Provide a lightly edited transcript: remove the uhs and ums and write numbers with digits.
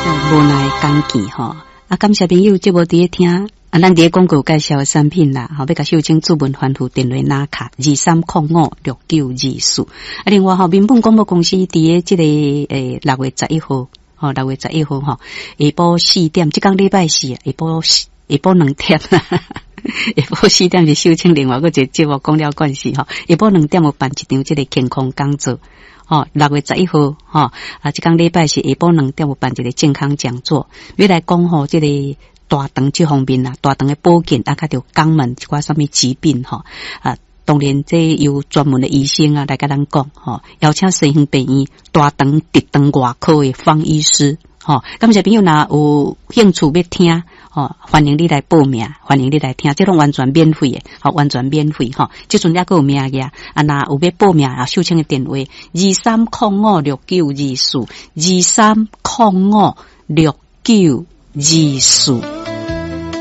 無奈講見吼，啊，感謝朋友節目佇咧聽，啊，咱佇咧廣告介紹的產品啦，吼，欲共秀清主文吩咐電話拿卡23056924。啊，另外吼，民本廣播公司佇咧這個6月11號，吼，六月十一號吼，下晡四點，這工禮拜四，下晡2點啦。下晡四點是秀清另外閣一個節目講了關係吼，下晡兩點有辦一場這個健康講座。吼，6月11號，吼，啊，這工禮拜四下晡兩點有辦一個健康講座，欲來講吼，這個大腸這方面啊，大腸的保健啊，較著肛門一寡啥物疾病吼，啊，當然這由專門的醫生啊來共咱講吼，邀請西園病院大腸直腸外科的方醫師，吼，感謝朋友若有興趣欲聽，吼，歡迎你來報名，歡迎你來聽，這攏完全免費的，吼，完全免費吼。這陣猶閣有名額，啊，若有欲報名啊，秀清的電話23056924，23056924。